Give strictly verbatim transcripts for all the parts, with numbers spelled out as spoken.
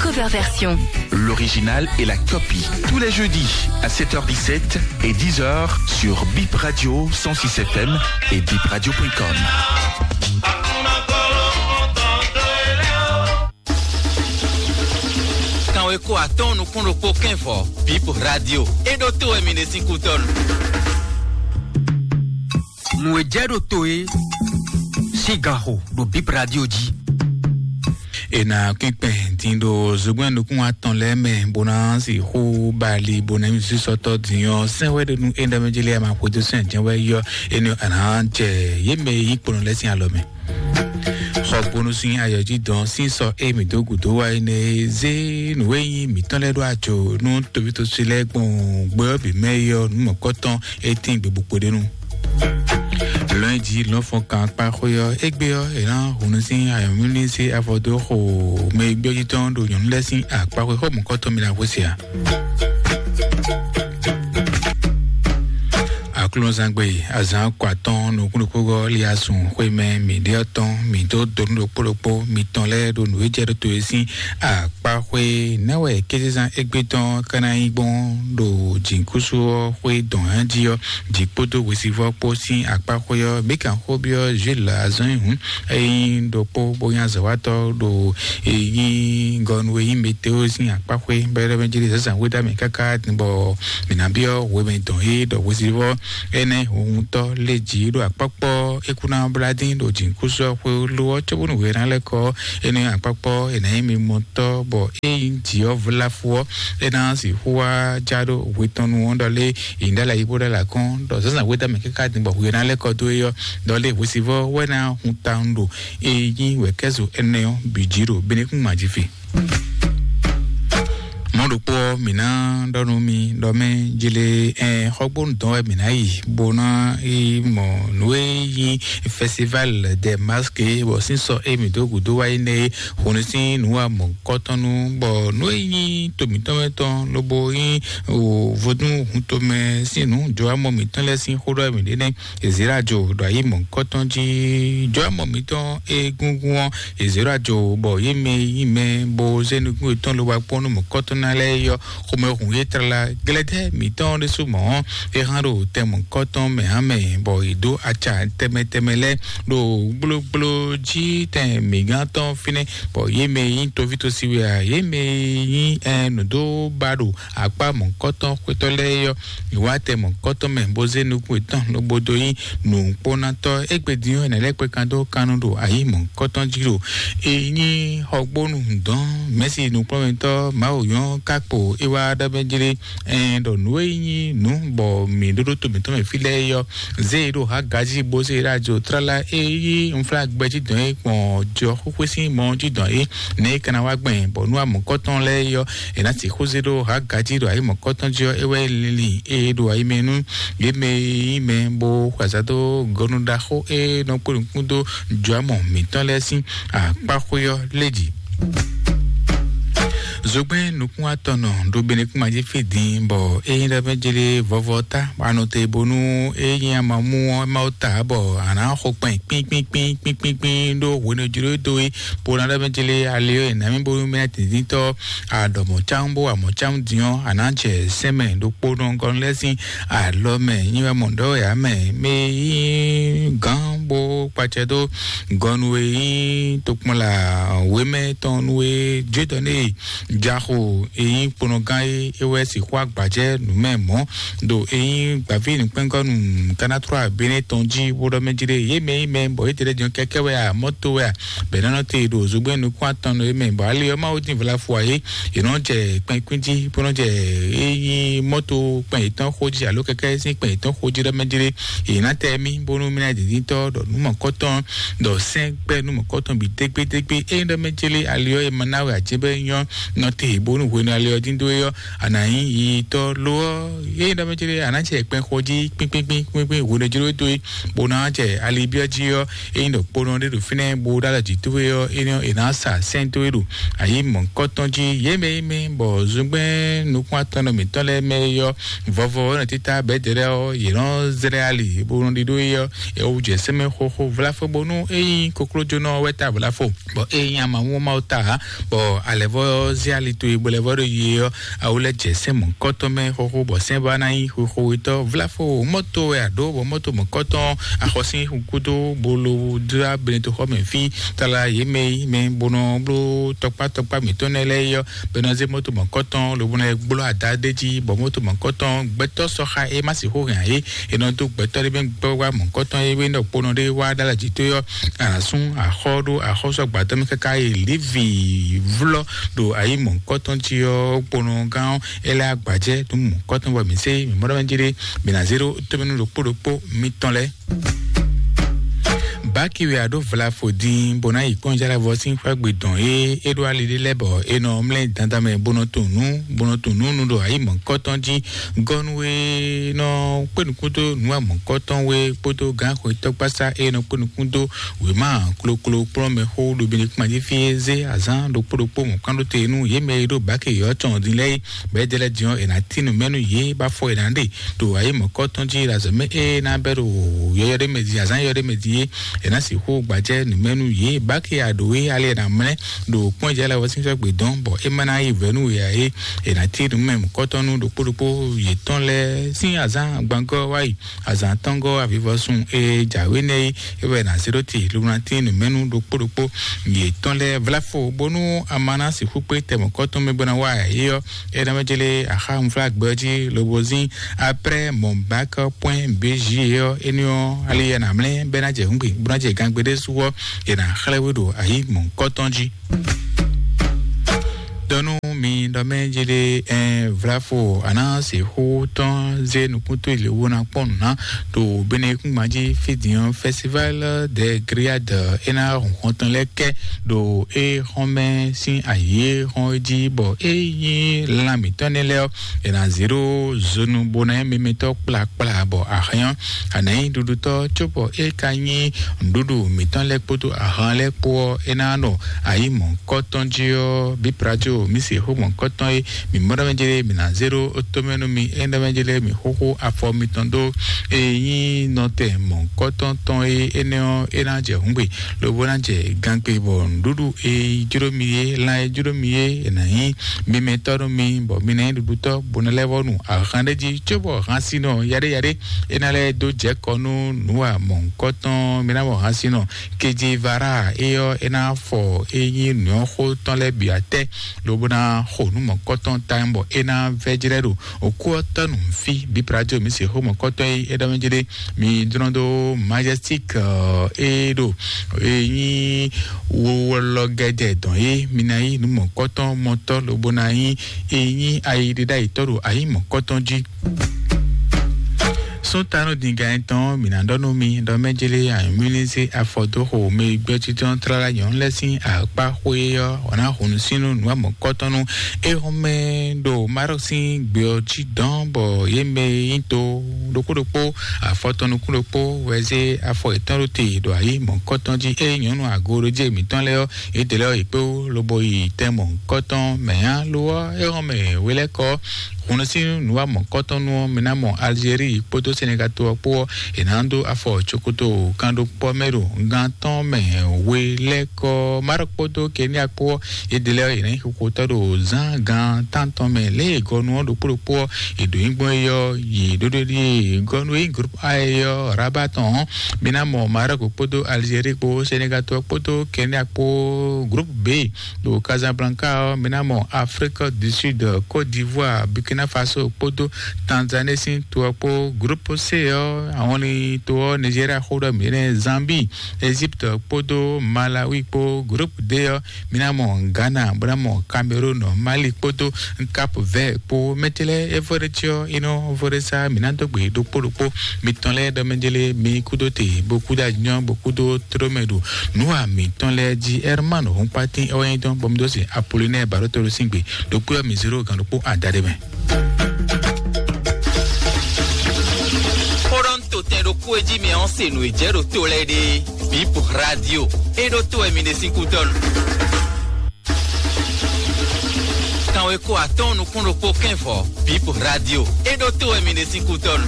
Cover version. L'original et la copie. Tous les jeudis à sept heures dix-sept et dix heures sur Bip Radio cent six F M et bip radio point com. Kanweko atɔ́ɔ́n nukún ɖokpó kɛ́nvɔ, Bip Radio. E ɖo to wɛ mi ɖe sín kútɔnu. Nǔ e jɛ ɖo to é sín ganxo ɖo Bip Radio jí. E na kpɛnkpɛn din ɖo zogbɛ́n nukún atɔn lɛ́ɛ mɛ, bó ná sixú bali, bó ná nyí sísɔtɔ́ din ɔ́, sɛ́n wɛ ɖe nú é ɖɔ mɛ jí lɛ́ɛ ma xwedó sɛn jɛ́n wɛ yɔ, énɛ́ a nǎ jɛ yě mɛ e nyí kponɔ lɛ́ɛ sín alɔ mɛ. Xɔgbónú sín ayɔ́jidɔn sín sɔ e mǐ dó gǔdo wá é nɛ́ zé nǔ e nyí mǐtɔn lɛ́ɛ ɖó ajo nú tovítɔ́sú lɛ́ɛ gbɔn gbɛ ɔ́ bǐ mɛ é ɔ́, nǔ mɔ̌kɔtɔn e tín gběbǔ kpóɖénu. Lɔ̌nyijǐ lɔ̌nfɔnkan kpá xwé ɔ́, égbé ɔ́, è nǎ hun nú sín ayɔ̌mlúmlú sín afɔ dó xo mɛ e gbé ɔ́ jí tɔn ɖo nyɔ̌nu lɛ́ɛ sín akpá xwé xó mɔ̌kɔtɔn mi ná xwé se ǎ. Aklúnɔzangbe azǎn kɔ atɔn nukúnnukúngɔ́ Liasun xwé mɛ mǐ ɖe ɔ́ tɔn, mǐ dó donu ɖokpó ɖokpó mitɔn lɛ́ɛ ɖo nǔ e jɛ ɖó to e sín akpá xwé. Nɛ̌ wɛ kézezán égbé tɔn ka ná nyí gbɔn ɖo jǐnukúnsu ɔ́ xwé dɔn jí ɔ́, jǐ kpódó hwesivɔ́ kpó sín akpá xwé ɔ́? Mǐ kan xó byɔ́ Jules azɔn nyi hǔn, é nyí ɖokpó bó nyí azɔ̌watɔ́ ɖo e nyí gɔnu e nyí météo sín akpá xwé bɛ́ ɖɔ mɛ jí zǎnzǎn xwé dó mì káká din bɔ mǐ ná byɔ́ hwemɛ dɔn é ɖɔ hwesivɔ́ énɛ́ huntɔ́ lé jǐ ɖo akpɔ́kpɔ́ é kú ná blá dín ɖo jǐnukúnsu ɔ́ xwé ló ɔ́, cóbónú hwe ná lɛ́ kɔ énɛ́ akpɔ́kpɔ́ è nǎ nyí mimɔtɔ́ bɔ é nyí jǐ ɔ́ vlafu ɔ́, é ná sixú wá já ɖó hwe tɔn nu ɔ́ ɖɔ lé è nyǐ ɖó alɔ yí bó ɖó alɔ akɔ́n ɖɔ zǎnzǎn xwé dó mì káká din bɔ hwe ná lɛ́ kɔ dó é ɔ́, ɖɔ lé hwesivɔ́ wɛ ná hun tawun ɖo e nyí wɛ̌kɛ́zo énɛ́ ɔ́ bǐ jí ɖo Benɛkún mají fi. Mɔ̌ ɖokpó ɔ́, mǐ ná ɖɔ nú mi ɖɔ mɛ jlé ɛn xɔgbónu dɔn wɛ mǐ ná yi bó ná yi mɔ nǔ e nyí festival des masques bɔ sín sɔ e mǐ dó gǔdo wá yi nɛ́ é hun sín nǔ wa mɔ̌kɔtɔn nu bɔ nǔ e nyí to mǐtɔn mɛ tɔn lobo nyí vodún hun tomɛ sín nǔ jɔ amɔ mǐtɔn lɛ́ɛ sín xó ɖɔ mǐ ɖe nɛ́. Ezera jo ɖo ayi mɔ̌kɔtɔn jí. Jɔ amɔ mǐtɔn egúngún ɔ́, Ezera jo bɔ yé mɛ yí mɛ bó zé nukún yětɔn ló wá kpɔ́n nú mɔ̌kɔtɔn ná lɛ́ɛ yɔ xomɛ hun yé tlala. Glɛdɛ́ mǐtɔn ɖésú mɔ̌ ɔ́, é hán ɖo tɛn mɔ̌kɔtɔn mɛ hán mɛ bɔ yě dó aca tɛmɛ tɛmɛ lɛ́ɛ ɖo gblógbló jí tɛn mǐgán tɔn fínɛ́, bɔ yé mɛ nyí toví tosi wɛ a, yé mɛ nyí ɛ nǔdó ba ɖo akpá mɔ̌kɔtɔn xwétɔ́ lɛ́ɛ yɔ. Ìwátɛ mɔ̌kɔtɔn mɛ bó zé nukún yětɔn lobo dó nyí nǔkpónátɔ́. Égbé din ɔ́, è nǎ lɛ́ kpé kan dó kannú ɖo ayǐ mɔ̌kɔtɔn jí ɖo e nyí xɔgbónu dɔn mɛ̌si nukplɔ́nmɛtɔ́ Mawu nyɔ́ ká kpo é wá ɖɔ mɛ jlé ɛn ɖɔ nǔ e nyí nǔ bɔ mǐ ɖó ɖó to mǐtɔn mɛ fí lɛ́ɛ é ɔ́, zé e ɖo Hagaji bó zé e ɖo ajo tlala e yí unflágbɛ jí dɔn é gbɔn jɔ xwéxwé sín mɔ jí dɔn é nɛ̌ é ka ná wá gbɛn bɔ nú amɔ̌kɔtɔn lɛ́ɛ é ɔ́, è nǎ sixú zé ɖó Hagaji ɖo ayǐ mɔ̌kɔtɔn jí ɔ́, é wɛ é linlin e ɖo ayi mɛ nú yě mɛ e nyí mɛ bó xwazá dó gɔnu ɖaxó e nɔ kpó nukún dó jɔ̌amɔ mǐtɔn lɛ́ɛ sín akpáxwé ɔ́ lé jí. Zogbɛ́n nukún atɔnɔ ɖo benekúnma jí fí din bɔ é nyí ɖɔ mɛ jlé vɔvɔ tá anɔte bónú é nyí amamú ɔ́ ma ó ta bɔ a nǎ xo kpɛn kpínkpínkpín kpínkpínkpín ɖó hwenɛ́ jló dó é bó ná ɖɔ mɛ jlé ali ɔ́ è nǎ mì bónú mɛ dǐndíntɔ́ a ɖɔ mɔ̌ cámú bó wa mɔ̌ cámú din ɔ́, a nǎ jɛ sɛ́nmɛ ɖokpónɔ gɔ́n lɛ́ɛ sín alɔ mɛ. Nyi wɛ mɔ ɖɔ wɛ ǎ mɛ mɛ yí gǎn bó kpacɛ dó gɔnu e nyí tokpɔnla wěmɛ tɔn nu e jwédɔ nɛ jaxo e nyí kponɔgán é é wɛ sixú agbajɛ nǔ mɛ mɔ̌ ɖo e nyí gbǎví nǔkpɛ́ngɔ́nu kanatrɔ abéné tɔn jí bó ɖɔ mɛ jí ɖe yé mɛ yí mɛ bɔ yé tɛɖɛ jɔn kɛkɛ wɛ a mɔto wɛ a bɛ̌ nɔ́ nɔ te ɖo zogbɛ́n nukún atɔn nɔ é mɛ bɔ ali ɔ́ Mawu dín vlafu ǎ é è nɔ jɛ kpɛn kpín jí bó nɔ jɛ é nyí mɔto kpɛn yětɔn xó jí alo kɛkɛ sín kpɛn yětɔn xó jí ɖɔ mɛ jí ɖe è nǎ tɛ mì bónú mì ná dǐndíntɔ́ ɖɔ nǔ mɔ̌kɔtɔn ɖɔ sɛ́n gbɛ́ nú mɔ̌kɔtɔn bǐ dégbédégbé. Ényí ɖɔ mɛ céli ali ɔ́ e ma ná wɛ ǎ jɛ́n bɔ é nyɔ́ nɔ te bónú hwenu ali ɔ́ dín dó é ɔ́, a nǎ nyí yiyitɔ́. Lo ɔ́, ényí ɖɔ mɛ céli a nǎ jɛ kpɛn xɔ jí kpínkpínkpín kpínkpín hwenu jló dó é, bó ná jɛ ali byɔ́ jí ɔ́, ényí ɖɔ kponɔ ɖé ɖo fínɛ́ bó ɖó alɔ jǐ towe ɔ́, é nɔ è nǎ sa sɛ́n towe ɖo ayǐ mɔ̌kɔtɔn jí. Yě mɛ é mɛ bɔ zungbɛ́n nukún atɔn nɔ mǐtɔn lɛ́ɛ mɛ é ɔ́, vɔvɔ ɔ́ nɔ títá bɛ̌ dɛ̌ lɛ́ɛ ɔ́, yě nɔ zlɛ́ ali bó nɔ ɖidó é ɔ́, é wú jɛ sɛ́nmɛ xóxó Vlafo bónú é nyí koklójónɔ wɛ ta vlafo, bɔ é nyí amamú Mawu ta ǎ, bɔ alɛvɔ zé ali towe bɔ lɛvɔ ɖo yi ɔ́, awu lɛ jɛ sɛn mɔ̌kɔtɔn mɛ xóxó, bɔ sɛn ba ná nyí xóxówetɔ́. Vlafo mɔto wɛ aɖó, bɔ mɔto mɔ̌kɔtɔn axɔsín gúdo bolo dra benetoxɔ mɛ fí tala yě mɛ yi mɛ bónɔ bló tɔkpá tɔkpá mǐtɔn nɛ lɛ́ɛ yi ɔ́, bɛnɔ zé mɔto mɔ̌kɔtɔn lobo nɔ gbló ada ɖé jí, bɔ mɔto mɔ̌kɔtɔn gbɛtɔ́ sɔxa é má sixú hɛn ǎ é. È nɔ dó gbɛtɔ́ ɖé bɛ́ gbɛ́ wá mɔ̌kɔtɔn é wé nɔ kponɔ ɖé wá ɖó alɔ jǐ tó ɔ́, a nǎ sú axɔ́ ɖó axɔ́sú agbadɔ mɛ káká yi Levi vlɔ́ ɖo ayi mɔ̌kɔtɔn jí ɔ́, kponɔ gán ɔ́, é lɛ́ agbǎjɛ nú mɔ̌kɔtɔn bɔ mǐ sé mǐ mɔ ɖɔ mɛ jí ɖé, mǐ ná zé ɖó tómɛnú ɖokpó ɖokpó mitɔn lɛ́ɛ. Baki wɛ a ɖó vlafo din bó ná yi kpɔ́njálɛvɔ sín xwé gbe dɔn é é ɖó ali ɖé lɛ́ɛ bɔ é nɔ mlɛ́ dandan mɛ bó nɔ tunwun nú bó nɔ tunwun nú nú ɖo ayi mɔ̌kɔtɔn jí. Gɔ́nú e nɔ kpé nukúndó nǔ amɔ̌kɔtɔn we kpódó gǎnxwetɔ́ gbásá e nɔ kpé nukúndó wěma kloklo kplɔ́n mɛ xó ɖo Benekuma jí fí é zé azǎn ɖokpó ɖokpó mɔ̌kpán ɖó te nú yě mɛ e ɖo bǎke yɔ̌ tɔn din lɛ́ɛ é. Bɔ é ɖe lɛ́ɛ din ɔ́, è nǎ tín nǔ mɛ nú yě bó afɔ è nǎ ɖe ɖo ayǐ mɔ̌kɔtɔn jí ɖo azɔ̌ mɛ é ná bɛ́ ɖo yɔyɔ ɖé mɛ din, azǎn yɔyɔ ɖé mɛ din é, è nǎ sixú gbajɛ nǔ mɛ nú yě. Báke aɖǒ é ali è nǎ mlɛ́ ɖo kpɔ́n jɛ lɛ́ɛ wɔ sín sɔ́ gbe dɔn, bɔ é má ná yí vɛ̌ nú yě ǎ é. È nǎ cí nǔ mɛ mɔ̌kɔtɔn nú ɖokpó ɖokpó yětɔn lɛ́ɛ sín azǎn gbangɔ́ wá yi azǎn tɔ́ngɔ́ avivɔsun e jǎwe nɛ́ é, é wɛ è nǎ zé ɖó te lobo ná tín nǔ mɛ nú ɖokpó ɖokpó yětɔn lɛ́ɛ vlafo, bónú a ma ná sixú kpé tɛ mɔ̌kɔtɔn mɛ bó ná wá ǎ é ɔ́, é ná mɛ jlé axá unflágbɛ ɔ́ jí lobo zín. Après mon bac point B J ɔ́, éní ɔ́ ali yɛ nǎ mlɛ́ bɛ́ ná jɛ hǔngbe bó ná jɛ gangbe ɖé sú ɔ́, è nǎ xlɛ́ we ɖo ayǐ mɔ̌kɔtɔn jí. Dɔnú mi ɖɔ mɛ jlé ɛn vlafo àná sixú tɔn zé nukúntó ilé wo ná kpɔ́n nǔ ná ɖo Benekúngban jí fí din ɔ́, festival de grillade é ná hun xɔntɔn lɛ́ɛ kɛ ɖo é xɔn mɛ sín ayǐ é xɔn é jí, bɔ é nyí lan mǐtɔn nɛ́ lɛ́ɛ ɔ́, è nǎ zé ɖó zonu bó ná nyí mimɛtɔ́ kplakpla, bɔ ahɛn ɔ́, a nǎ nyí ɖuɖutɔ́, cóbɔ é ka nyí nǔɖuɖu mǐtɔn lɛ́ɛ kpódó ahan lɛ́ɛ kpó ɔ́, é ná nɔ ayǐ mɔ̌kɔtɔn jí ɔ́, bǐ plajo mǐ se xó mɔ̌kɔtɔn é, mǐ mɔ ɖɔ mɛ jlé mǐ ná zé ɖó tómɛ nú mi, é ɖɔ mɛ jlé mǐ xóxó afɔ mitɔn dó. E nyí nɔtɛn mɔ̌kɔtɔn tɔn e énɛ́ ɔ́, é ná jɛ hǔngbe, lobo ná jɛ gangbe, bɔ nǔɖuɖu e jló mi é, lan e jló mi é, è nǎ nyí mimɛtɔ́ nú mi, bɔ mi ná nyí ɖuɖutɔ́, bó ná lɛ́ vɔ́ nu ahan ɖé jí, cóbɔ hansinɔ yaɖéyaɖé é ná lɛ́ dó jɛ kɔ nú nǔ wa mɔ̌kɔtɔn. Mi ná mɔ hansinɔ kejivara é ɔ́, é ná fɔ é nyí nǔnyɔ́xó tɔn lɛ́ɛ bǐ atɛ, lobo ná xo nǔ mɔ̌kɔtɔn tawun, bɔ é ná vɛ́ jlɛ́ ɖo òkú ɔ́ tɔ́ nǔ fí. Bíbradio mi se xó mɔ̌kɔtɔn e é ɖɔ mɛ jlé, mi dlɔ́n dó Majestic é ɖo é nyí wowɔlɔ gɛdɛ dɔn é, mi ná yí nǔ mɔ̌kɔtɔn mɔtɔ́, lobo ná nyí é nyí ayi ɖé ɖ'ayǐtɔ́ ɖo ayǐ mɔ̌kɔtɔn jí. Sún tanu din gan etɔn mǐ ná ɖɔ nú mi ɖɔ mɛ jlé anyǔmílísé afɔdóxo mɛ gbɛ́ títɔn tlala nyɔ̌nu lɛ́ɛ sín akpá xwé ɔ́, wǎ ná hun sínú nǔ amɔ̌kɔtɔn nú é hɔn mɛ ɖo Marɔk sín gbě ɔ́ jí dɔn, bɔ yě mɛ e nyí to ɖokpó ɖokpó afɔtɔn nukún ɖokpó wɛ zé afɔ yětɔn ɖó te ɖo ayǐ mɔ̌kɔtɔn jí. Ée nyɔ̌nu agoɖojé mǐtɔn lɛ́ɛ ɔ́, yě dě lɛ́ ɔ́ yě kpé wú lobo yi tɛn mɔ̌kɔtɔn mɛ ǎ. Lo ɔ́, é hɔn mɛ wělɛ́kɔ ɔ́, hun nú sín nǔ wa mɔ̌kɔtɔn nú ɔ́, mi ná mɔ Algérie kpódó Sénégal to ɔ́ kpó ɔ́, è nǎ dó afɔ cokoto kan ɖokpó ɔ́ mɛ ɖo gan tɔn mɛ we lɛ́ɛ kɔ. Maroc kpódó Kenya kpó ɔ́, yě ɖě lɛ́ɛ ɔ́, yě ná nyí xixotɔ́ ɖo zán gan tántɔn mɛ. Lě e gɔnu ɔ́ ɖokpó ɖokpó ɔ́, è ɖǒ nyi gbɔn é ɔ́, yě ɖó ɖó ɖíe gɔnu e nyí groupe A é ɔ́, Rabat tɔn ɔ́, mi ná mɔ Maroc kpódó Algérie kpó Sénégal to ɔ́ kpódó Kenya kpó groupe B. Ɖo Casablanca ɔ́, mi ná mɔ Afrique du Sud, Côte d'Ivoire, Burkina Faso kpódó Tanzanie sín to ɔ́ kpó. Groupe C ɔ́, àwọn ní to ɔ́, Nigeria xó ɖɔ mǐ nɛ́, Zambie, Égypte kpódó Malawi kpó. Groupe D ɔ́, mi ná mɔ Ghana, bó ná mɔ Cameroun, Mali kpódó Cap Vert kpó. Mɛtɛlɛ Evoɖetsi ɔ́, inɔ Voɖesa, mi ná dó gbe ɖokpó ɖokpó mitɔn lɛ́ɛ ɖɔ mɛ jlé mi kúdó te, bó kúdó anyɔ, bó kúdó tlómɛ ɖo nǔ wa mǐtɔn lɛ́ɛ jí. Herman Hɔnkpatín ɔ́ nyí dɔn bɔ mi dó se Apolinɛ́ɛ Baɖótolo sín gbe ɖokpó ɔ́ mi zéro gan ɖokpó adaɖé mɛ. Xó ɖɔ un to tɛn ɖokpó e jí mi ɔ́ se nǔ e jɛ ɖo to lɛ́ɛ ɖe. Bip Radio. E ɖó to wɛ mi ɖe sín kútɔ́nu. Kanwe ko atɔn nukún ɖokpó kɛnvɔ. Bip Radio. E ɖó to wɛ mi ɖe sín kútɔ́nu.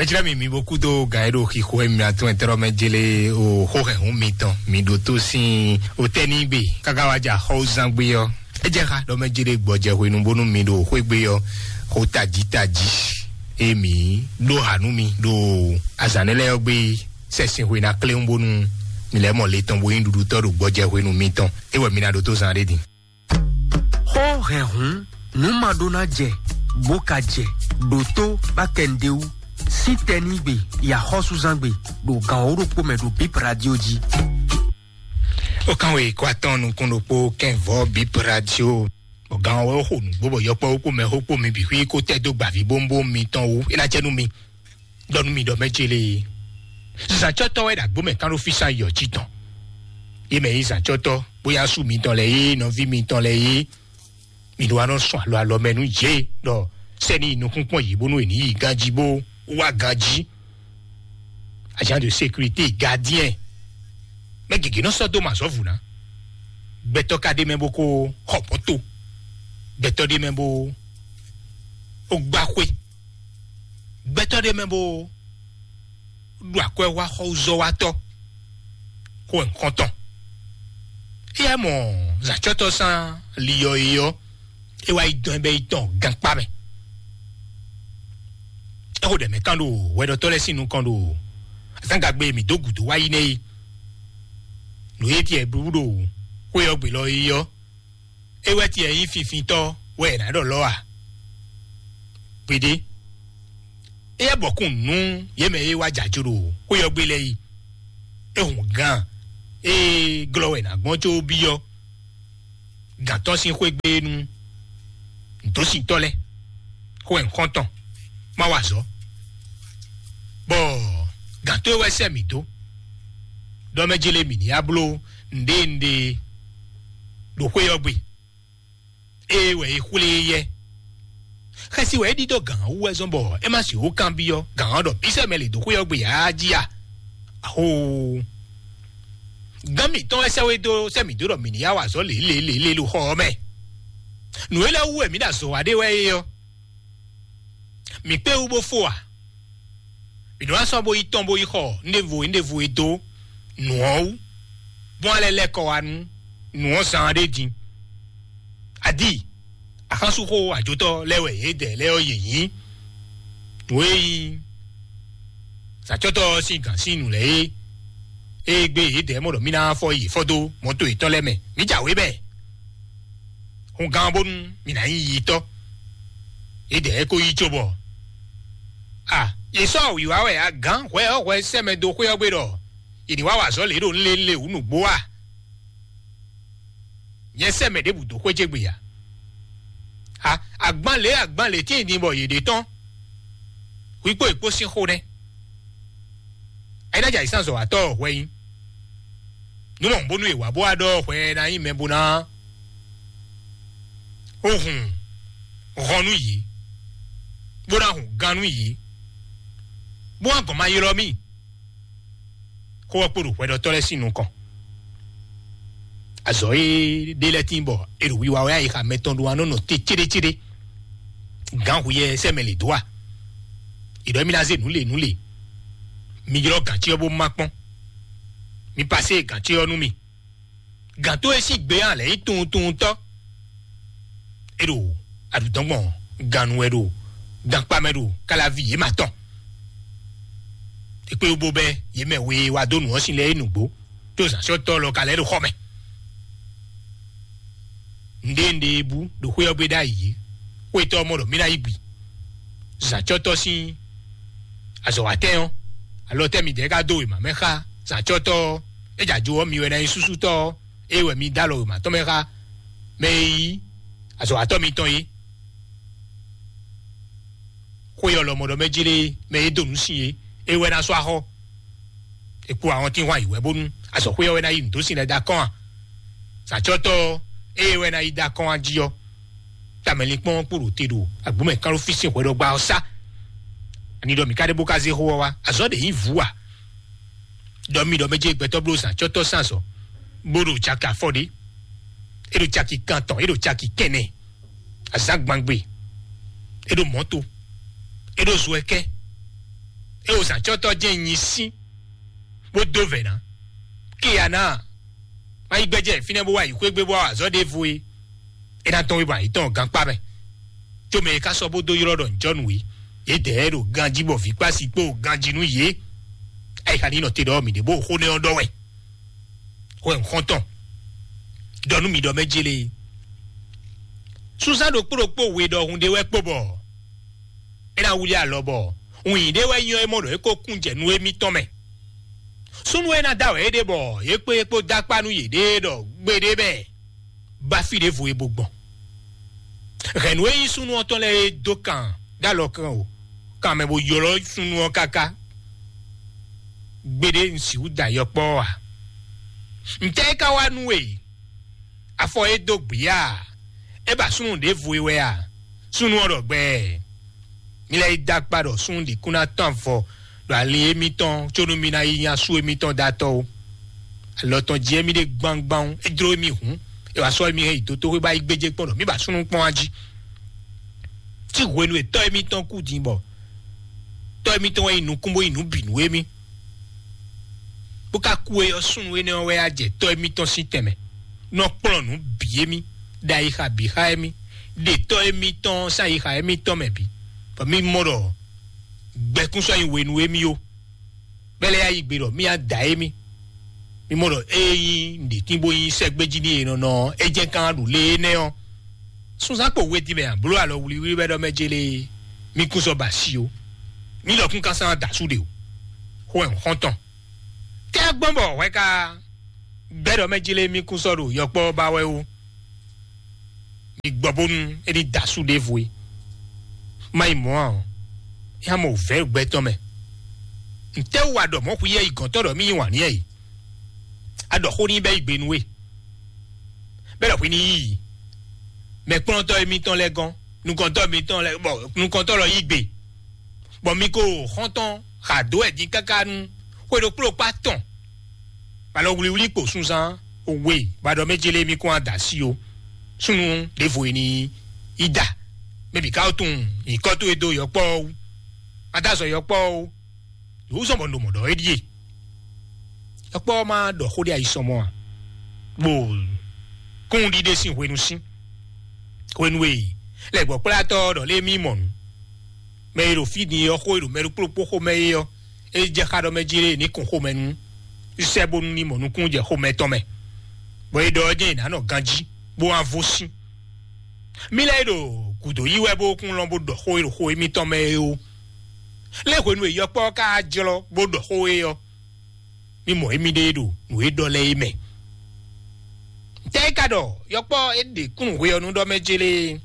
Eclɛ mi mi bo kúdo gǎn e ɖo xixo e mi atún ɛtɛ́ mɛ jele o xó hɛn hun mitɔn mi ɖo tó sín o tɛ́ ní gbe káká wá jà xɔwúzán gbé ɔ́. É jẹ́ xá ɖɔ mɛ jele gbɔjɛ hwenu bónú mi ɖo xwé gbé ɔ́ xó tají tají e mi ɖó ha nú mi ɖo azǎn nɛ́ lɛ́ɛ ɔ́ gbé sɛ́sin hwe ná kléwún bónú mi lɛ́ mɔ le tɔn bo nyí ɖuɖutɔ́ ɖo gbɔjɛ hwenu mitɔn. É wɛ mi ná ɖó tó zán ɖé din. Xó hɛn hǔn nǔ ma ɖó ná jɛ bó ka jɛ ɖo tó bá kɛ nɖé wú sín tɛnígbe yi axɔ́súzángbe ɖo gǎn wǒ ɖokpó mɛ ɖo Bip Radio jí. Ó kán wé kó atɔ́n nukún ɖokpó kɛnvɔ́ Bip Radio. Bɔ gǎn wɛ ó xo nǔgbó bɔ yɔkpɔ́ ó kpó mɛ xó kpó mi bǐ xwí kó tɛ́ dó gbǎví bómbóm mitɔn wú é ná jɛ nú mi. Ɖɔ nú mi ɖɔ mɛ ce lée. Zǎncɔ́tɔ́ wɛ ɖo agbǒ mɛ kán ɖó físá yɔ jí tɔn. Yé mɛ yí zǎncɔ́tɔ́ bóyá sú mitɔn lɛ́ɛ yé nɔví mitɔn lɛ́ɛ yé. Mi ɖó wá nɔ sɔn alɔ alɔ mɛ nú yě ɖɔ sɛ́ni yi nukúnkpɔ́n yě bónú è ní yi ganjí bó wá ganjí. Agent de sécurité, gardien. Mɛ gěgé nɔ sɔ́ dó mɛ azɔ̌ vǔ ná. Gbɛtɔ́ ka ɖ'é mɛ bó kó xɔ mɔ̌to. Gbɛtɔ́ ɖ'é mɛ bó gbá xwé. Gbɛtɔ́ ɖ'é mɛ bó ɖo akwɛ́ wá xɔzɔ́watɔ́ xó nukɔntɔn. Éyɛ́ mɔ zǎcɔ́tɔ́ sán liyɔ é ɔ́, é wá yi dɔn bɛ́ yi tɔn gankpá mɛ. É xo ɖɛ mɛ kán ɖo hwɛɖɔtɔ́ lɛ́ɛ sín nukɔn ɖo azǎngagbe e mǐ dó gǔdo wá yi nɛ́ é. Nǔ e tiɛ blú ɖo xwé ɔ́ gbe lɔ é ɔ́, é wɛ tiɛ nyí finfintɔ́ wɛ è nǎ ɖɔ lɔ́ a? Gbeɖé. Éyɛ́ bɔkún nú yě mɛ e wá jǎ jó ɖo xwé ɔ́ gbe lɛ́ɛ yi. É hun gán e glɔ́ wɛ è nǎ gbɔn có byɔ́ gǎn tɔn sín xwé gbe nú nǔdósintɔ́ lɛ́ɛ, xó wɛ nǔxɔ́ntɔn má wa azɔ̌. Bɔ gǎn tó e wɛ sɛ́ mǐ dó ɖɔ mɛ jélé mǐ ní wá bló nǔɖé nǔɖé ɖo xwé ɔ́ gbe. Ée wɛ è xwlé e yɛ. Xɛsi wɛ é ɖidó gǎn ɔ́ wú wɛ zɔ́n bɔ é má sixú kanbyɔ́ gǎn ɔ́ ɖɔ bí sɛ́ mɛ lě dó xwé ɔ́ gbe ǎ jí a? Axoo! Gán mǐtɔn wɛ sɛ́ wé dó sɛ́ mǐ dó ɖɔ mǐ ní yá wa azɔ̌ lě lě lě lě ɖo xɔ ɔ́ mɛ. Nǔ e lɛ́ wú wɛ mǐ ɖo azɔ̌ wa ɖe wɛ é ɔ́, mǐ kpé wú bó fó a? Mǐ nɔ wá sɔ́ bó yi tɔn bó yi xɔ nɖěvo nɖěvo e dó nǔ ɔ́ wú, bó wá lɛ́ lɛ́ kɔ wá nú nǔ ɔ́ zán ɖé din. Adi, axánsúxó ajotɔ́ lɛ́ɛ wɛ yědɛɛ lɛ́ɛ ɔ́ yě nyí. Nǔ e nyí sǎcɔ́tɔ́ ɔ́ sín gǎn sín nǔ lɛ́ɛ é, ée gbé yědɛɛ mɔ ɖɔ mí ná fɔ yě fɔ dó mɔto yětɔn lɛ́ɛ mɛ, mǐ jǎwe bɛɛ. Hun gán bónú mǐ ná nyí yitɔ́. Yědɛɛ ko yí cóbɔ a yě sɔ́ wǐwá wɛ a gǎn hwɛ ɔ́ hwɛ sɛ́ mɛ dó xwé ɔ́ gbe ɖɔ yě ní wá wa azɔ̌ lě ɖo nlélé wǔ nǔgbó a? Nyɛ sɛ́ mɛ ɖěbǔ dó xwé ce gbe a? A agban lě agban lě tíin din bɔ yě ɖe tɔ́n. Hwi kpó yě kpó sín xó nɛ́. Ayínájà yě sán zɔ̌watɔ́ ɔ́ hwɛ nyí. Nú mɔ bónú è wǎ bó wá ɖɔ hwɛ ná nyí mɛ bó ná ó hun hɔn nú yě, bó ná hun gán nú yě, bó wá gɔn ma ylɔ́ mì. Xó ɔ́ kpo ɖo hwɛɖɔtɔ́ lɛ́ɛ sín nukɔn. Azɔ̌ e ɖé lɛ́ɛ tín bɔ è ɖo wiwa wɛ ayixa mɛtɔn ɖó wá nɔ nɔ te céɖécéɖé. Gǎn hu yɛ sɛ́ mɛ lě dó a? È ɖɔ émí ná zé nǔ le nǔ le. Mi ylɔ́ gǎncí ɔ́ bó má kpɔ́n. Mi pasé gǎncí ɔ́ nú mì. Gǎn tó e sín gbe ɔ́ lɛ̌ nyí tunwuntunwuntɔ́. É ɖo aɖǔdɔ́ngbɔn gannú wɛ ɖo gankpá mɛ ɖo káláví yě ma tɔn. È kpé wú bó bɛ́ yě mɛ we e wá dó nǔ ɔ́ sin lɛ́ɛ é nǔgbó, tó zǎnsɔ́tɔ́ lɔ ka lɛ́ ɖo xɔ mɛ. Nǔɖé nǔɖé e bú ɖo xwé ɔ́ gbe ɖ'ayǐ é, xwétɔ́ ɔ́ mɔ ɖɔ mì ná yi gbi. Zǎncɔ́tɔ́ sín azɔ̌watɛ́n ɔ́, alɔ tɛ́ midɛɛ ka dó wěma mɛ xá zǎncɔ́tɔ́ ɔ́? É jɛ ajo ɔ́, mi wɛ ná nyí súsútɔ́ ɔ́, é wɛ mi dó alɔ wěma tɔn mɛ xá mɛ e nyí azɔ̌watɔ́ mitɔn é. Xwé ɔ́ lɔmɔ̌ ɖɔ mɛ jlé mɛ e dó nǔ sin é, é wɛ ná sɔ́ axɔ́. È kpo ahɔntínhwan yi wɛ bónú azɔ̌xwé ɔ́ wɛ ná yi nǔ dó sin lɛ́ɛ dó akɔ́n a? Zǎncɔ́tɔ́ ɔ́, ée wɛ ná yi dó akɔ́n a jí ɔ́, tamɛlinkpɔ́n ɔ́ kpo ɖo te ɖo agbǒmɛ kán ɖó fí sín hwɛɖɔgba ɔ́ sá. Ani ɖɔ mǐ ka ɖe bó ka zé xó ɔ́ wá? Azɔ̌ ɖě nyí vǔ a? Ɖɔ mi ɖɔ mɛ jɛ gbɛtɔ́ bló zǎncɔ́tɔ́ sín azɔ̌, bó ɖo caki afɔ ɖé, é ɖo caki kantɔn, é ɖo caki kɛnɛ, azǎngbangbe, é ɖo mɔ̌to, é ɖo zo ɛkɛ́, É o zǎncɔ́tɔ́ jɛ́n nyi sín, bó dó vɛ̌ ná. Kíyá ná, má yi gbɛ́jɛ fínɛ́ bó wá yi xwé gbé bó wá azɔ̌ ɖěvo é. É ná tɔ́n wé bɔ ayǐtɔn gankpá mɛ. Có mɛ e ka sɔ́ bó dó ylɔ́ ɖɔ ǹjɔ́nú é, yědɛɛ ɖo ganjí bɔ vǐ kpási kpó ganjí nú yě. Ayixa ní nɔ te ɖɔ mǐ ɖě bó xó nɛ́ ɔ́ ɖɔ wɛ. Xó ɛ xɔ́ntɔn, ɖɔ nú mǐ ɖɔ mɛ jélé. Súnsán ɖokpó ɖokpó we ɖɔhun ɖé wɛ kpo bɔ é ná wlí alɔ bɔ wǐin ɖé wɛ nyɔ́ é mɔ ɖɔ é ko kún jɛ nú émítɔn mɛ. Súnnu e ná da wɛ é ɖe bɔ yě kpé yě kpó dó akpá nú yěɖée ɖɔ gbeɖé bɛ bá fí ɖěvo e bo gbɔn. Hɛ̌nnu e nyí súnnu ɔ́ tɔn lɛ́ɛ é dó kan dó alɔ kan o, kan mɛ bo ylɔ́ súnnu ɔ́ káká. Gbeɖé un sixú da yɔkpɔ́ ɔ́ ǎ. Ntɛ́ é ka wá nú we? Afɔ e dó gbǐ a? É ba súnnu ɖěvo e wɛ a? Súnnu ɔ́ ɖɔ gbɛɛ. Mi lɛ́ yi dó akpá ɖɔ súnnu ɖě kún ná tɔ́n avɔ ɖo ali émítɔn có nú mi ná yi nya sú émítɔn dó atɔ́ ó. Alɔ tɔn jí émí ɖe gbangban ó, é jló émí hǔn, é wá sɔ́ émí hɛn yi dotóxwé bá yi gbéjé kpɔ́n ɖɔ mí ba súnnu kpɔ́n á jí. Tí hwenu e tɔ́ émítɔn kú din bɔ tɔ́ émítɔn wɛ nyi nukún bó nyi nǔ bǐ nú émí, bó ka kú é ɔ́, súnnu énɛ́ ɔ́ wɛ á jɛ tɔ́ émítɔn sín tɛnmɛ, nɔ kplɔ́n nǔ bǐ émí, ɖo ayixa bǐ xá émí, ɖe tɔ́ émítɔn sín ayixa émítɔn mɛ bǐ, bɔ mí mɔ ɖɔ gbɛkún sɔ́ nyi we nú émí ó. Bɛ́ lɛ́ɛ yá yi gbe ɖɔ mí á da émí. Mí mɔ ɖɔ ée nyí nǔɖétín bó nyí sɛ́gbéjí n'i e nɔ nɔ ɔ́, é jɛ́n kán ɖo lě énɛ́ ɔ́. Súnzán kpo we din mɛ a bló alɔ wlíwlí wɛ ɖɔ mɛ jélé mí kún sɔ́ ba asi ó. Mí ɖɔ kún kásán da sú ɖe o. Xó ɛ xɔ́ntɔn. Tɛ́ gbɔn bɔ hwɛ ka gbɛ́ ɖɔ mɛ jélé mí kún sɔ́ ɖo yɔkpɔ́ ba wɛ ó. Mi gbɔ bónú é ní da sú ɖěvo é. Má yi mɔ̌ ǎ ɔ́, é ná mɔ wǔvɛ́ gbɛtɔ́ mɛ. Ntɛ́ wú a ɖɔ mɔ̌ xwíyɛ́ yi gɔ̌ntɔ́ ɖɔ mí yí wǎn n'i é? A ɖɔ xó n'i bɛ́ yi gbe nú we. Bɛ́ ɖɔ hwi ní yí yi. Mɛkplɔ́ntɔ́ émítɔn lɛ́ɛ gɔ́n, nukɔntɔ́ émítɔn lɛ́ɛ bɔ nukɔntɔ́ lɔ yí gbe. Bɔ mi ko xɔ́ntɔn xa dó wɛ din káká nú xwe ɖokpó ɖokpó atɔn. Alɔ wlíwlí kpo sunzán we, bɔ a ɖɔ mɛ jélé mí kún ada sí o. Súnnu ɖěvo e ní yi da. Mɛ bǐ ka tunwun nyǐkɔ towe dó yɔkpɔ́ ɔ́ wú. Má dó azɔ yɔkpɔ́ ɔ́ wú. Yǒzɔn bɔ un ɖo mɔ̌ ɖɔ é ɖíe. Yɔkpɔ́ ɔ́ má ɖɔ xó ɖé ayisɔmɔ a? Bó kún ɖiɖe sín hwenu sín. Hwenu e lɛ̌gbɔ́kplátɔ́ ɔ́ ɖɔ lé mí mɔ nǔ. Mɛ e ɖo fí din ɔ́ xó e ɖo mɛ ɖokpó ɖokpó xomɛ é ɔ́, é jɛ xá ɖɔ mɛ jí lé ní kun xomɛ nú sɛ́ bónú ní mɔ nukún jɛ xomɛ tɔn mɛ. Bɔ é ɖɔ ɔ́ jɛ́n è nǎ nɔ ganjí, bó wá vo sín. Mí lɛ́ɛ ɖo gǔdo yí wɛ bó kún lɔn bó ɖɔ xó e ɖo xo émítɔn mɛ é ó. Lé hwenu e yɔkpɔ́ ɔ́ ka jlɔ́ bó ɖɔ xó é ɔ́, mí mɔ émíɖée ɖo nǔ e ɖɔ lɛ́ɛ é mɛ. Tɛ́ é ka ɖɔ yɔkpɔ́ é ɖe kúnnu hwe ɔ́ nú ɖɔ mɛ jélé?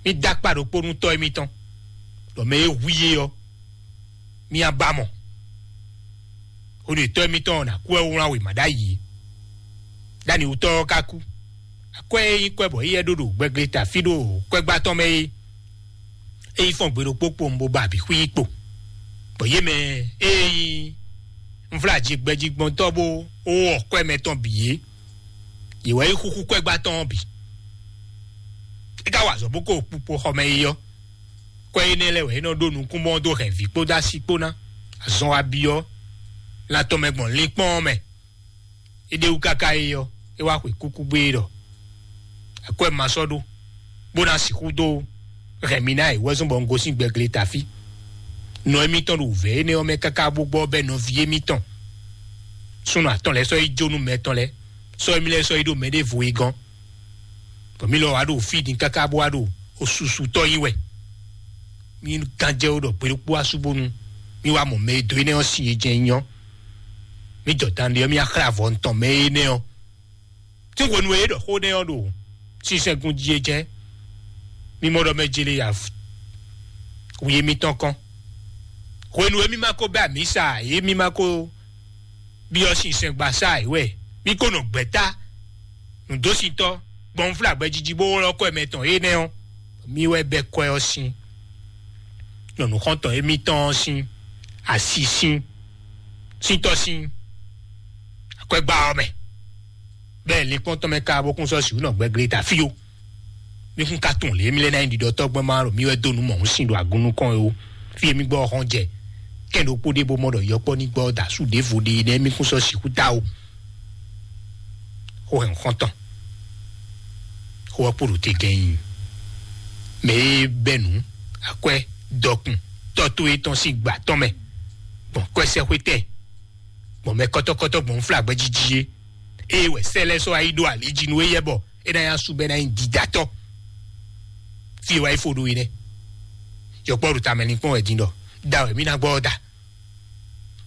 Mí dó akpá ɖokpó nú tɔ́ émítɔn, ɖɔ mɛ e hu i é ɔ́, mí á ba mɔ. Hwenu e tɔ́ émítɔn ɔ́ ná kú wɛ wlán wěma ɖ'ayǐ é. Ɖ'anǐwútɔ́ ɔ́ ka kú. Akwɛ́ e nyí kwɛ́ bɔ éyɛ́ ɖó ɖo gbɛgleta fí ɖo kwɛ́gbá tɔn mɛ é, é yi fɔ́n gbe ɖokpó kpowun bó ba abǐ xwí kpo. Bɔ yě mɛ e nyí nvlájigbɛjigbɔntɔ́ bó wɔ kwɛ́ mɛ tɔn bǐ é, yě wɛ yi xúxú kwɛ́gbá tɔn ɔ́ bǐ. É ka wa azɔ̌ bó ko kpukpo xɔ mɛ yi ɔ́, kwɛ́ énɛ́ lɛ́ɛ wɛ é nɔ ɖó nukúnmɔ dó hɛn vǐ kpódó asi kpó ná. Azɔn wa byɔ́ lan tɔn mɛ gbɔn linkpɔ́n ɔ́ mɛ. É ɖe wú káká é ɔ́, é wá xwe kúkú gbé é ɖɔ akwɛ́ ma sɔ́ ɖó, bó ná sixú dó hɛn mi ná è wɛ́zɔ́n bɔ un gosín gbɛgleta fí. Nɔ émítɔn ɖo wǔvɛ́ énɛ́ ɔ́ mɛ káká bó gbɔ bɛ́ nɔví émítɔn súnnu atɔn lɛ́ɛ sɔ́ yi jó nú mɛ tɔn lɛ́ɛ, sɔ́ émí lɛ́ɛ sɔ́ yi ɖo mɛɖěvo e gɔ́n. Bɔ mí lɔ wá ɖo fí din káká bó wá ɖo osusutɔ́ nyi wɛ. Mí gán jɛ wó ɖɔ gbe ɖokpó asú bónú mí wá mɔ mɛ e dó énɛ́ ɔ́ sin e jɛ́n nyí ɔ́. Mí jɔ dan ɖe ɔ́, mí wá xlɛ́ avɔ tɔn mɛ énɛ́ ɔ́. Tí hwenu e é ɖɔ xó nɛ́ ɔ́ ɖo sinsɛngun jí é jɛ́n, mí mɔ ɖɔ mɛ jele ya wi émítɔn kɔn. Hwenu e mí ma ko bɛ́ amǐ sa ǎ, é mí ma ko byɔ́ sinsɛngbasá ǎ wɛ, mí ko nɔ gbɛ̌ta nǔdósintɔ́ gbɔn nǔflágbɛ́ jiji bó ylɔ́ kɔ mɛ tɔn énɛ́ ɔ́, mí wɛ bɛ́ kɔ ɔ́ sín. Nyɔ̌nu xɔ́ntɔn émítɔn ɔ́ sín asi sín síntɔ́ sín akwɛ́gbá ɔ́ mɛ. Bɛ́ linkpɔ́n tɔn mɛ ka bó kún sɔ́ sǐ nɔ gbɛglé ta fí ó. Mí kún ka tunwun lě mí lɛ́ ná nyí ɖiɖɔtɔ́ gbɔn má ɖo mí wɛ dó nǔ mɔ̌hun sin ɖo agun nukɔn é ó. Fí e mí gbɔ ɔ́ xɔ́n jɛ. Kɛ́n ɖokpó ɖé bó mɔ ɖɔ yɔkpɔ́ ní gbɔ da sú ɖěvo ɖe nɛ́ mí kún sɔ́ sixú ta ó. Xó hɛn xɔ́ntɔn. Xó ɔ́ kpo ɖo te gɛ́n nyi. Mɛ e bɛ́ nǔ, akwɛ́, dɔkun, tɔ́ towe tɔn sín gbǎ tɔn mɛ, gbɔn kwɛ́sɛ́xwétɛn, gbɔn mɛ kɔ́tɔ́kɔ́tɔ́ gbɔn nflágbɛ́ jíjí é. Ée wɛ sɛ́ lɛ́ɛ sɔ́ wá yi ɖó ali jí nú éyɛ́ bɔ é ná nyí asú bɔ é ná nyí dídátɔ́. Fí e wá yi fo ɖó é nɛ́. Yɔkpɔ́ ɖo tamɛ linkpɔ́n wɛ din ɖɔ da wɛ mí ná gbɔ ɔ́ da.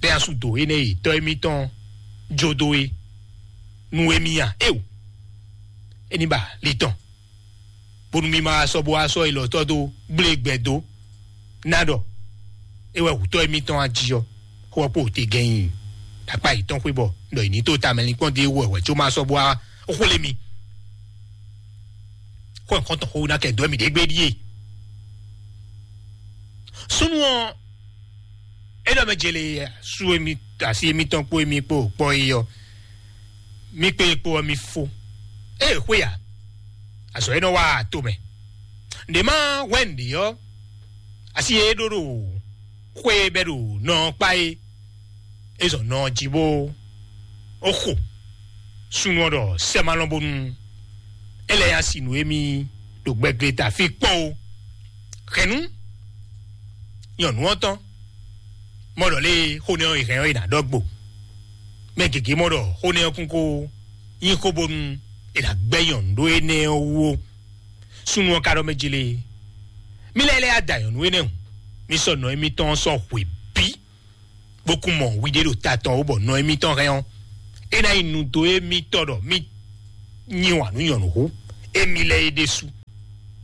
Bɛ́ asú dǒ énɛ́ e tɔ́ émítɔn jó dó é nú émí a? Éeǒ, é ní ba ali tɔn, bónú mí ma wá sɔ́ bó wá sɔ́ élɔ́ tɔ́ dó gblé gbɛ dó ná ɖɔ é wɛ wǔtɔ́ émítɔn wá jí ɔ́, xó ɔ́ kpo te gɛ́n nyi akpá yětɔn xwé bɔ ɖɔ è nǐ tó tamɛ linkpɔ́n ɖé wɛ wɛ có ma sɔ́ bó wá xwlé mi. Xó ɔ́ xɔ́ntɔn xó ná kɛ dó mì ɖě gbé ɖíe. Súnnu ɔ́, é ɖɔ mɛ jele sú émi asi émítɔn kpó émi kpó kpɔ́ é ɔ́, mí kpé kpó ɔ́ mí fó. Ée xwé a, azɔ̌ é nɔ wá to mɛ. Nɖě má hwɛ́n nǔɖé ɔ́, asi e é ɖó ɖo xwé e bɛ́ ɖo nɔ ɔ́ kpá é, é zɔn nɔ ɔ́ jí bó ó xo. Súnnu ɔ́ ɖɔ sɛ́ ma lɔn bónú é lɛ́ ya si nǔ émí ɖo gbɛgleta fí kpɔ́n ó. Hɛ̌nnu nyɔ̌nu ɔ́ tɔn mɔ ɖɔ lé xó nɛ́ ɔ́ è hɛn ɔ́ è nǎ ɖɔ gbo. Mɛ gěgé mɔ ɖɔ xó nɛ́ ɔ́ kún kó nyí xó bónú è nǎ gbɛ́ nyɔ̌nu ɖó énɛ́ ɔ́ wú ó. Súnnu ɔ́ ka ɖɔ mɛ jí lé, mí lɛ́ lɛ́ ya da nyɔ̌nu énɛ́ hǔn, mí sɔ́ nɔ émítɔn ɔ́ sɔ́ hwe bǐ, bó kún mɔ wiɖé ɖo ta tɔn ó bɔ nɔ émítɔn hɛn ɔ́, é ná nyí nudo émítɔn ɖɔ mí nyi wǎn nú nyɔ̌nu hú émí lɛ́ɛ é ɖésú.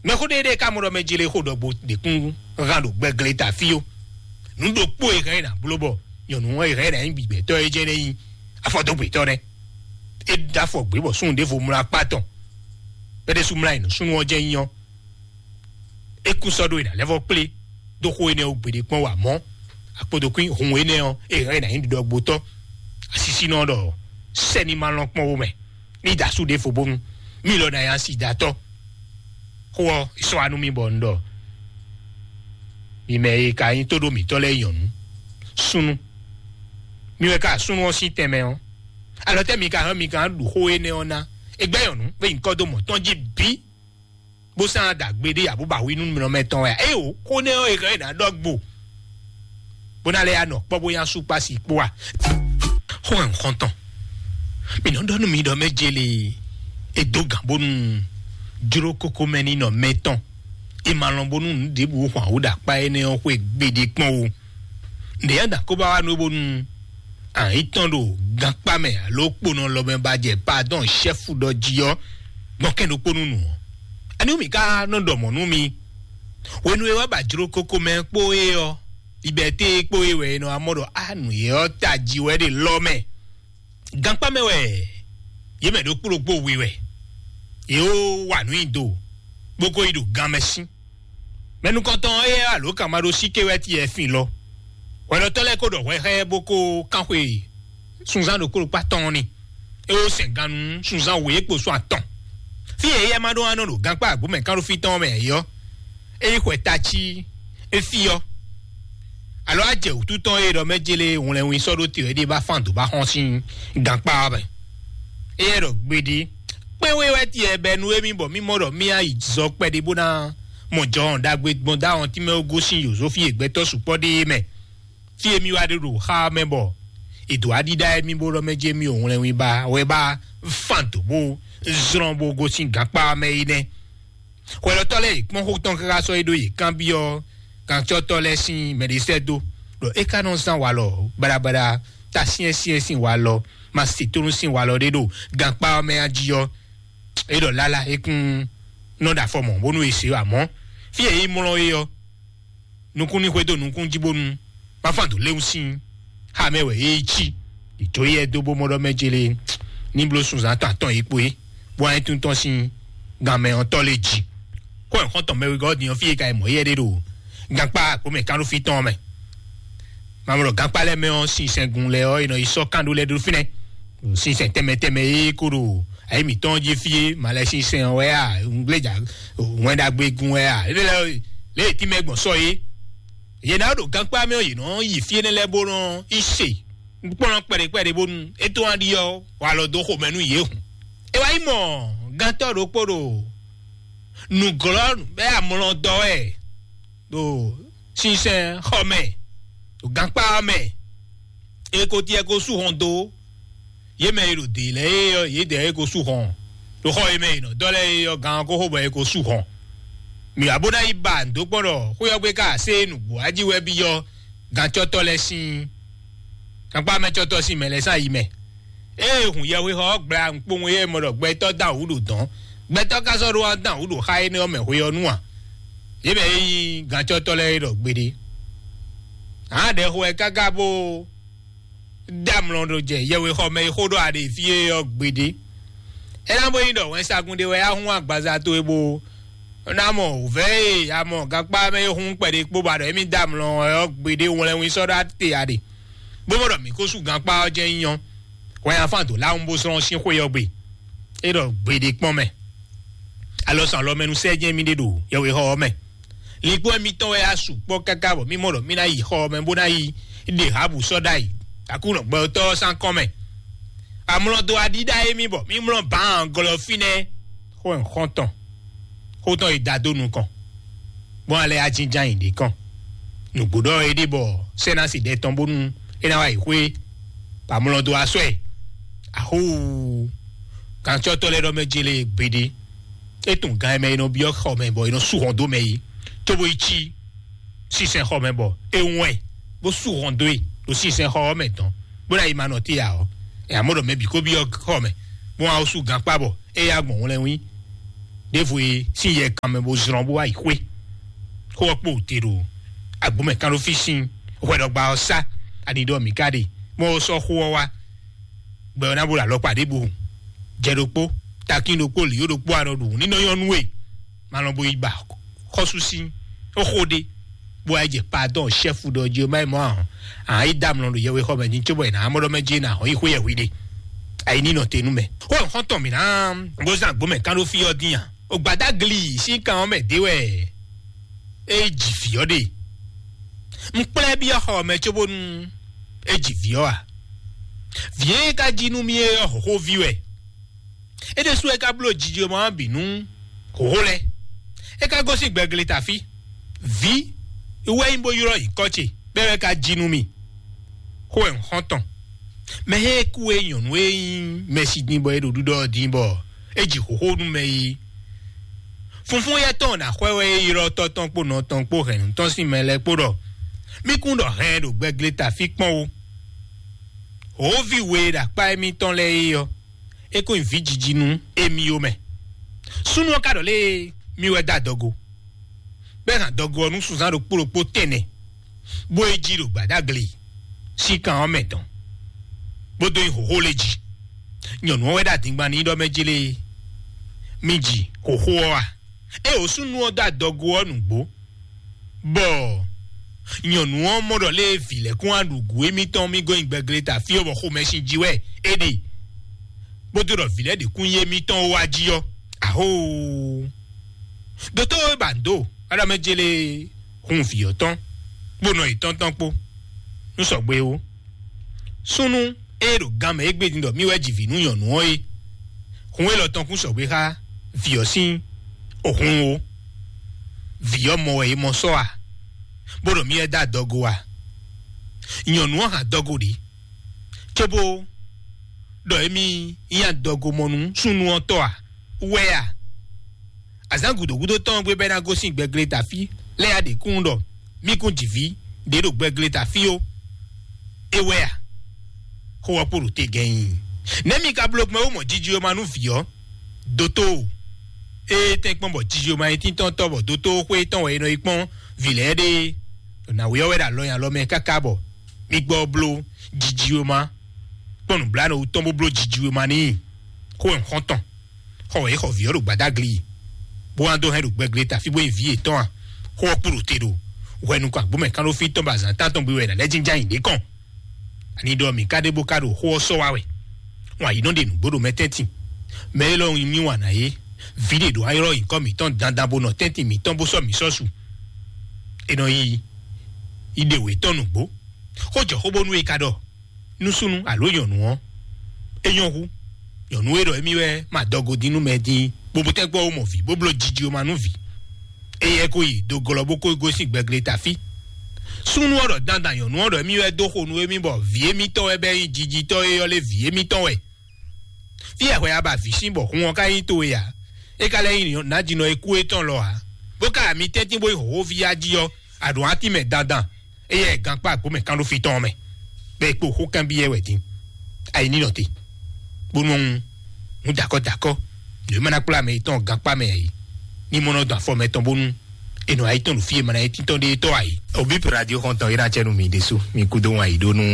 Mɛxó ɖé ɖé ka mɔ ɖɔ mɛ jele xó ɖɔgbo ɖě kún hán ɖo gbɛgleta fí ó. Nǔ ɖokpó e hɛn é nǎ bló bɔ nyɔ̌nu ɔ́ e hɛn é nǎ nyí gbigbɛtɔ́ é jɛ́n ná nyí afɔdógbetɔ́ nɛ́. É ɖó afɔ gbě bɔ súnnu ɖěvo mlá akpá tɔn. Bɛ́ ɖésú mlá yi nǔ súnnu ɔ́ jɛ́n nyí ɔ́, é kún sɔ́ ɖó e nǎ lɛ́ vɔ́ kplé dó xó énɛ́ ɔ́ gbeɖé kpɔ́n wǎ mɔ̌. Akpodokún hun énɛ́ ɔ́, é hɛn é nǎ nyí ɖiɖɔgbotɔ́. Asisínɔ ɖɔ sɛ́ni ma lɔn kpɔ́n wo mɛ ní da asú ɖěvo bónú mí lɔ ná nyí asi da tɔ́. Xó ɔ́, é sɔ́ wá nú mì bɔ un ɖɔ mi mɛ e ka nyí tóɖó mǐtɔn lɛ́ɛ nyɔ̌nu, súnnu. Mi wɛ ka súnnu ɔ́ sín tɛnmɛ ɔ́, alɔ tɛ́ mi ka hɛn mi ka ɖu xó énɛ́ ɔ́ ná? É gbɛ́ nyɔ̌nu bó yi nyǐkɔ dó mɔ̌ tɔn jí bǐ, bó sán ɖagbe ɖé abú ba hu nú nɔ mɛ tɔn wɛ. Ée o, xó nɛ́ ɔ́, è hɛn ná ɖɔ gbo, bó ná lɛ́ ya nɔ kpɔ́ bó nyá sú kpá si kpó a? Xó hɛn xɔ́ntɔn. Mi nɔ ɖɔ nú mi ɖɔ mɛ jeli e dó gǎn bónú jló kókó mɛ ní nɔ mɛ tɔn. E ma lɔn bónú nǔ ɖěbǔ hwan wú ɖo akpá énɛ́ ɔ́ xwé gbeɖé kpɔ́n o. Nɖě ya da kó ba wá nú bónú àyín tɔn ɖo gankpá mɛ alo kponɔ lɔ mɛ ba jɛ padɔn ṣɛ́fu ɖɔ jí ɔ́, gbɔn kɛ́n ɖokpó nú nǔ ɔ́. Ani wú mǐ ka nɔ ɖɔ mɔ̌ nú mi? Hwenu e wá ba jló kókó mɛ kpó é ɔ́, libɛté kpó é wɛ è nɔ wá mɔ ɖɔ á nǔ é ɔ́ tají wɛ ɖe lɔ mɛ. Gankpá mɛ wɛ yě mɛ ɖokpó ɖokpó we wɛ. Yě ó wa nǔ nyi do, bó ko yi ɖo gan mɛ sín. Mɛ nukɔntɔn éyɛ́ alo kan ma ɖó síké wɛ ti yɛ fin lɔ. Hwɛɖɔtɔ́ lɛ́ɛ ko ɖɔ hwɛ xá ɛ bó ko kán xwe sunzán ɖokpó ɖokpó atɔn ɔ́ ni. É wó sɛn gannú sunzán wěkpo sɔ́ atɔn. Fí e éyɛ́ ma ɖó anɔ ɖo gankpá agbǒ mɛ kánɖófí tɔn ɔ́ mɛ ǎ é ɔ́, é yi xwɛ tací é fí ɔ́. Alo á jɛ wǔtu tɔn e ɖɔ mɛ jélé hwlɛnwin sɔ́ ɖó te wɛ ɖé bá fán dǒ bá xɔ́n sín gankpá ɔ́ mɛ. Éyɛ́ ɖɔ gbeɖé kpɛ́n wé wɛ tiɛ bɛ́ nú émí bɔ mí mɔ ɖɔ mí á yi zɔ kpɛɖé bó ná mɔ jɔhɔn ɖagbe gbɔn dó awɔntín mɛ ó gosín yǒzó fí e gbɛtɔ́ sukpɔ́ ɖe é mɛ. Fí e mí wá ɖe ɖo xá ɔ́ mɛ bɔ è dǒ aɖíɖá émí bó ɖɔ mɛ jí émí ò hwlɛnwin ba wɛ bá fán dǒ bó zlɔ́n bó gosín gankpá ɔ́ mɛ é nɛ́. Hwɛɖɔtɔ́ lɛ́ɛ yi kpɔ́n xó tɔn káká sɔ́ é ɖó yě kanbyɔ́ kancɔ́tɔ́ lɛ́ɛ sín mɛɖisɛ́ dó ɖɔ é ka nɔ zán walɔ baɖabaɖa ta syɛ́nsyɛ́n sín walɔ ma se tónú sín walɔ ɖé ɖo gankpá ɔ́ mɛ a jí ɔ́. É ɖɔ lálá é kún nɔ ɖo afɔ mɔ̌ bónú è se amɔ̌ fí e é mlɔ́ é ɔ́, nukún ní xwedó nukún jí bónú ma fán dǒ léwu sín xá mɛ wɛ é cí. Ìjó yɛ dó bó mɔ ɖɔ mɛ jélé ní bló sunzán tɔn atɔn yìí kpó é bó wá nyí tún tɔn sín gan mɛ ɔ́ tɔ́ lé jí. Kó ẹ̀ xɔ́ntɔn mɛ wegɔ́ din ɔ́ fí e ka yi mɔ̌ yɛ ɖé ɖo gankpá àkpó mɛ kánɖófí tɔn ɔ́ mɛ. Mamlɔ gankpá lɛ́ɛ mɛ ɔ́, sinsɛn gun lɛ́ɛ ɔ́, è nɔ yi sɔ́ kán ɖó lɛ́ɛ ɖó fínɛ́. Sinsɛn tɛnmɛ tɛnmɛ e kó ɖo ayi mǐtɔn jí fí é, malɛ sinsɛn ɔ́ wɛ a, ŋgbléjà wɛn ɖagbe gun wɛ a, lé lɛ́ lé tínmɛ gbɔn sɔ́ é. Yě ná ɖo gankpá mɛ ɔ́, yě nɔ yi fí énɛ́ lɛ́ɛ bó nɔ yi se kplɔ́n kpɛɖé kpɛɖé bónú é tó wá ɖi ɔ́, wá lɔ dó xomɛ nú yě hǔn. É wá yi mɔ gantɔ́ ɖokpó ɖo nǔglɔ́ bɛ́ amlɔ dɔ wɛ ɖo sinsɛn xɔ mɛ, ɖo gankpá ɔ́ mɛ. É ko tiɛ ko sú hɔn dó yě mɛ e ɖo dě lɛ́ɛ é ɔ́, yědɛɛ é ko sú hɔn ɖo xɔ e mɛ è nɔ dɔ́ lɛ́ɛ é ɔ́, gan ɔ́ ko xo bɔ é ko sú hɔn. Mǐ wá bó ná yi ba nǔ dó kpɔ́n ɖɔ xwé ɔ́ gbe ká sé nǔgbó ají wɛ byɔ́ gancɔ́tɔ́ lɛ́ɛ sín gankpá mɛ cɔ́tɔ́ sín mɛ lɛ́ɛ sín ayi mɛ. Ée hun yɛhwexɔ ɔ́ gbla nukpowun e mɔ ɖɔ gbɛtɔ́ dán wǔ ɖo dɔ̌n, gbɛtɔ́ ka sɔ́ ɖó wá dán wǔ ɖo xá énɛ́ ɔ́ mɛ hwe ɔ́ nu a? Yě mɛ e nyí gancɔ́tɔ́ lɛ́ɛ é ɖɔ gbeɖé. Ǎ ɖɛxo wɛ káká bó dó amlɔ ɖo jɛ yɛhwexɔ mɛ e xó ɖɔ aɖe fí é ɔ́ gbeɖé. É ná bó nyí ɖɔ wɛnsagun ɖé wɛ á hún agbaza towe bó ná mɔ wǔvɛ́ e a mɔ gankpá mɛ é hún kpɛɖé kpó ba ɖɔ émí dó amlɔ ɔ́ gbeɖé wlɛ́nwín sɔ́ ɖó ate aɖe, bó mɔ ɖɔ mǐ ko sú gankpá ɔ́ jɛ́n nyí ɔ́, hwɛ afán dǒ láwun bó zlɔ́n sín xwé ɔ́ gbe. É ɖɔ gbeɖé kpɔ́n mɛ. Alɔsan lɔ mɛ nu sɛ́ jɛ́n mì ɖe ɖo yɛhwexɔ ɔ́ mɛ. Linkpo émítɔn wɛ á sukpɔ́ káká bɔ mì mɔ ɖɔ mì ná yi xɔ ɔ́ mɛ bó ná yi ɖe hǎbǔ sɔ́ ɖ'ayǐ. Aklúnɔ gbɛtɔ́ ɔ́ sín akɔ́n mɛ. Amlɔ dó aɖíɖá émí bɔ mì mlɔ́ bǎan glɔ́ fínɛ́. Xó xɔ́ntɔn, xó tɔn yi da dó nukɔn, bó ná lɛ́ ajínján yi ɖě kɔn. Nǔgbó ɖɔ é ɖe bɔ sɛ́nási ɖɛ tɔn bónú é ná wá yi xwé, bɔ amlɔ dó asɔ́ ɛ. Ahóo! Gǎncɔ́tɔ́ lɛ́ɛ ɖɔ mɛ jélé gbeɖé. É tunwun gan e mɛ è nɔ byɔ́ xɔ mɛ bɔ è nɔ sú hɔn dó mɛ é, cóbó yi cí sinsɛn xɔ mɛ bɔ é wɛn bó sú hɔn dó e ɖo sinsɛn xɔ ɔ́ mɛ dɔn, bó ná yi ma nɔ té ǎ ɔ́, ɛ amɔ̌ ɖɔ mɛ bǐ kó byɔ́ xɔ mɛ, bó wá sú gankpá bɔ é yá gbɔn wlɛ́nwí ɖěvo e sín yɛ kan mɛ bó zlɔ́n bó wá yi xwé. Xó ɔ́ kpo te ɖo agbǒmɛ kán ɖó fí sín hwɛɖɔgba ɔ́ sá, ani ɖɔ mǐ ka ɖe, bó sɔ́ xó ɔ́ wá. Gbɛ ɔ́ ná bo ɖo alɔkpa ɖěbǔ, jɛ ɖokpó, takín ɖokpó, lǐó ɖokpó, anɔ ɖu ní nɔ nyɔ́ nú we. Malɔn bo yi ba xɔ́sú sín xó ɖé, bó wá yi jɛ padɔn ṣɛ́fu ɖɔ jí ó má yi mɔ ahɔn. Ahɔn yi dá amlɔ ɖo yɛwe xɔ mɛ ní cóbɔ yi ná amɔ́ ɖɔ mɛ jí ná ahɔn yi xwé yɛhwi ɖe. Ayi ní nɔ te nú mɛ. Xó xɔ́ntɔn mǐ ná bó zán agbǒ mɛ kán ɖó fí ɔ́ dín a? Ògbádá gli sín kan ɔ́ mɛ dé wɛ é ji vǐ ɔ́ ɖe. Un kplá ɛ byɔ́ xɔ mɛ cóbónú é ji vǐ ɔ́ a? Vǐ e ka jí nú mì é ɔ́, hǒxóví wɛ. É ɖésú é ka bló jijɔmɔ ɔ́ bǐ nú hǒxó lɛ́ɛ. É ka gosín gbɛgle tafí. Vǐ wɛ nyí bó ylɔ́ nyǐkɔ ce, bɔ é wɛ ka jí nú mì. Xó wɛ un xɔ́n tɔn. Mɛ e kú e nyɔ̌nu e nyí mɛsi din bɔ é ɖo ɖiɖɔ ɔ́ din bɔ é ji hǒxó nú mɛ e funfún yɛ́ tɔn ná xwɛ wɛ é ylɔ́ tɔ́ tɔn kpó nɔ tɔn kpó hɛ̌nnu tɔn sín mɛ lɛ́ɛ kpó ɖɔ mí kún ɖɔ hɛn ɖo gbɛgle tafí kpɔ́n ó. Hǒví we e ɖo akpá émítɔn lɛ́ɛ é ɔ́, é kó nyi vǐ jiji nú émí ó mɛ. Súnnu ɔ́ ka ɖɔ lé mì wɛ dó adɔgo, bɔ é hɛn adɔgo ɔ́ nú sunzán ɖokpó ɖokpó tɛnɛ, bó é jí ɖo gbǎdágli sín kan ɔ́ mɛ tɔn, bó dó nyi hǒxó lé jí. Nyɔ̌nu ɔ́ wɛ ɖo adingban n'i ɖɔ mɛ jí lé mì ji hǒxó ɔ́ a? É wǒ súnnu ɔ́ dó adɔgo ɔ́ nǔgbó, bɔ nyɔ̌nu ɔ́ mɔ ɖɔ lé vǐ lɛ́ɛ kún wá ɖu gǔ émítɔn mì gɔ́ nyi gbɛgle ta fí ɔ́ bɔ xomɛsin jí wɛ é ɖe, bó dó ɖɔ vǐ lɛ́ɛ ɖě kún nyí émítɔn ó wá jí ɔ́. Ahóoo! Dotó e ba nǔ dó Aɖamɛ jélé hun vǐ ɔ́ tɔn kpó nɔ yětɔn tɔn kpó nú sɔgbe ó. Súnnu e ɖo gan mɛ égbé din ɖɔ mì wɛ ji vǐ nú nyɔ̌nu ɔ́ é, hun élɔ́ tɔn kún sɔgbe xá vǐ ɔ́ sín òhun ó. Vǐ ɔ́ mɔ wɛ é mɔ sɔ́ a, bó ɖɔ mì wɛ dó adɔgo a? Nyɔ̌nu ɔ́ hɛn adɔgo ɖě, cóbó ɖɔ émí nyí adɔgomɔnú súnnu ɔ́ tɔ́ a? Wɛ a? Azǎn gǔdo gúdo tɔn ɔ́ gbe bɔ é ná gosín gbɛgle tafí lɛ́ɛ ya ɖě kún ɖɔ mì kún ji vǐ ɖě ɖo gbɛgle tafí ó. É wɛ a? Xó ɔ́ kpo ɖo te gɛ́n nyi. Nɛ̌ mi ka bló gbɔn wú mɔ jiji e ma nú vǐ ɔ́? Dotó, ée tɛ́nkpɔ́n bɔ jiji e ma nyí tíntɔ́ntɔ́ bɔ dotó xwé tɔn wɛ è nɔ yi kpɔ́n vǐ lɛ́ɛ ɖe ɖo nǎwe ɔ́ wɛ ɖo alɔ nyi alɔ mɛ káká bɔ mì gbɔ bló jiji e ma kpɔ́n nǔbláwǔ tɔn bó bló jiji e ma n'i. Xó wɛ un xɔ́n tɔn. Xɔ wɛ é xɔ vǐ ɔ́ ɖo gbadagli, bó wá dó hɛn ɖo gbɛgle ta fí bó nyi vǐ yětɔn a? Xó ɔ́ kpo ɖo te ɖo hwɛ nukɔn agbǒmɛ kánɖófí tɔn bɔ azǎn tántɔn gbe wɛ è nǎ lɛ́ jínjɔ́n ayǐ ɖě kɔn. Ani ɖɔ mǐ ka ɖe bó ka ɖo xó ɔ́ sɔ́ wá wɛ? Wǎn yí nɔ ɖe nǔgbó ɖo mɛ tɛ́ntin. Mɛ élɔ́ nyi mì wǎn ná é. Vǐ ɖě ɖo ayɔ́ nyǐkɔ mǐtɔn dandan bó nɔ tɛ́ntin mǐtɔn bó sɔ́ mǐ sɔ́ su. È nɔ yi Yi ɖe wě tɔn nǔgbó. Xó jɔ xó bónú é ka ɖɔ nú súnnu alo nyɔ̌nu ɔ́, é nyɔ́ hú. Nyɔ̌nu e ɖɔ émí wɛ ma dɔgo dín nú mɛ dín, bó bó tɛ́ gbɔ wó mɔ vǐ, bó bló jiji wó ma nú vǐ. Éyɛ́ ko yi do glɔ́ bó ko gosín gbɛgle tafí. Súnnu ɔ́ ɖɔ dandan nyɔ̌nu ɔ́ ɖɔ émí wɛ dó xo nú émí bɔ vǐ émítɔn wɛ bɛ́ nyí jijitɔ́ e ɔ́ lé vǐ émítɔn wɛ. Fí e hwɛ a ba vǐ sín bɔ hun ɔ́ ka nyí towe ǎ. É ka lɛ́ nyí nǎjínɔ e kú étɔn lɔ ǎ. Bó ka ami tɛ́ntin bó yi hǒxóví ya jí ɔ́, a ɖǒ atínmɛ dandan. Éyɛ́ gankpá agbǒmɛ kán ɖó fí tɔn mɛ, bɔ é kpo xó kanbyɔ́ wɛ din. Ayi ní nɔ te, bónú ɔ́, un dakɔ dakɔ, nǔ e ma ná kplá mɛ yětɔn gankpá mɛ ǎ é. Ní mɔ nɔ dɔn afɔ mɛtɔn bónú è nɔ ayi tɔn ɖo fí e ma ná nyí títɔn ɖé tɔ́ ǎ é. Obi radio xɔntɔn yi ná cɛ nú mi ɖésú, mi kúdó wan yi ɖó nú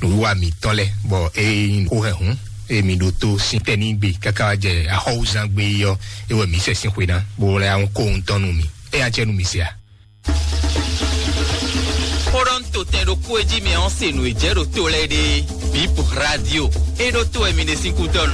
nǔwiwa mǐtɔn lɛ, bɔ é nyí xó hɛn hǔn, eye mi ɖo tó sín tɛ́ ní gbe káká wá jɛ axɔwúzán gbe yi ɔ́, é wɛ mǐ sɛ sín xwe ná, bó lɛ́ ahɔn kó ohun tɔn nú mi. É ná cɛ nú mi se a? Xó ɖɔ un to tɛn ɖokpó e jí mɛ ɔ́ se nǔ e jɛ ɖo to lɛ́ɛ ɖe. Bip radio. É ɖó to wɛ mi ɖe sín kú dɔn.